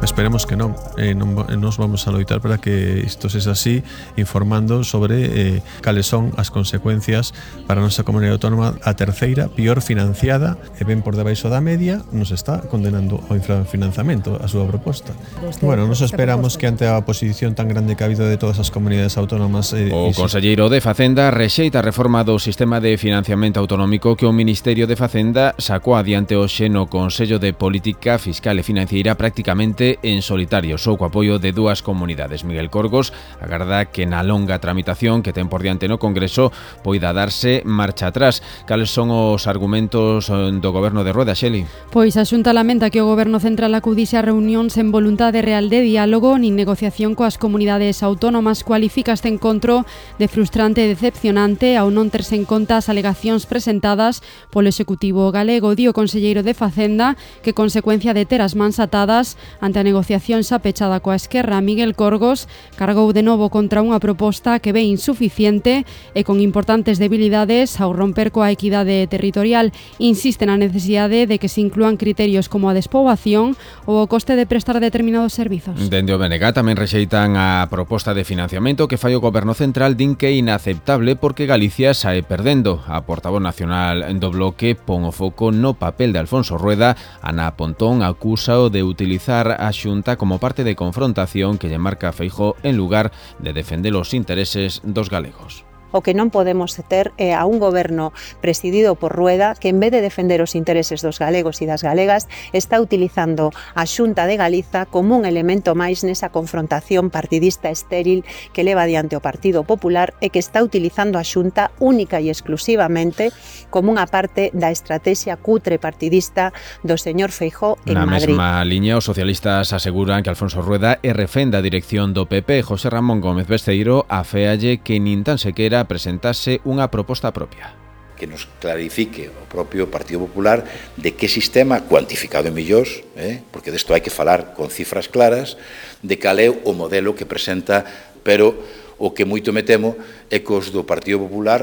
Esperemos que non. Nos vamos a loitar para que isto sexa así, informando sobre cales son as consecuencias para a nosa comunidade autónoma. A terceira, pior financiada, e ben por debaixo da media, nos está condenando ao infrafinanciamento a súa proposta. Bueno, nos esperamos que ante a oposición tan grande que ha habido de todas as comunidades autónomas... O conselleiro de Facenda rexeita a reforma do sistema de financiamento autonómico que o Ministerio de Facenda sacou adiante hoxe no Consello de Política Fiscal e Financiera prácticamente en solitario, só co apoio de dúas comunidades. Miguel Corgos agarda que na longa tramitación que ten por diante no Congreso poida darse marcha atrás. Cales son os argumentos do Goberno de Rueda, Xeli? Pois a Xunta lamenta que o Goberno Central acudise a reunión sen voluntade real de diálogo nin negociación coas comunidades autónomas. Cualifica este encontro de frustrante e decepcionante ao non terse en conta as alegacións presentadas polo Executivo galego. Di o conselleiro de Facenda que consecuencia de ter as mans atadas ante a negociación xa pechada coa Esquerra. Miguel Corgos cargou de novo contra unha proposta que ve insuficiente e con importantes debilidades ao romper coa equidade territorial. Insiste na necesidade de que se inclúan criterios como a despoboación ou o coste de prestar determinados servizos. Dende o BNG tamén rexeitan a proposta de financiamento que fai o Goberno Central, din que é inaceptable porque Galicia sae perdendo. A portavoz nacional do Bloque pon o foco no papel de Alfonso Rueda. Ana Pontón acúsao de utilizar a Xunta como parte de confrontación que lle marca a Feijóo en lugar de defender os intereses dos galegos. O que non podemos ter é a un goberno presidido por Rueda que en vez de defender os intereses dos galegos e das galegas está utilizando a Xunta de Galiza como un elemento máis nesa confrontación partidista estéril que leva adiante o Partido Popular e que está utilizando a Xunta única e exclusivamente como unha parte da estrategia cutre partidista do señor Feijóo en Madrid. Na mesma liña, os socialistas aseguran que Alfonso Rueda é refén da dirección do PP. José Ramón Gómez Besteiro aféalle que nin tan sequera presentase unha proposta propia. Que nos clarifique o propio Partido Popular de que sistema, cuantificado en millóns, porque desto hai que falar con cifras claras, de cal é o modelo que presenta, pero o que moito me temo é que os do Partido Popular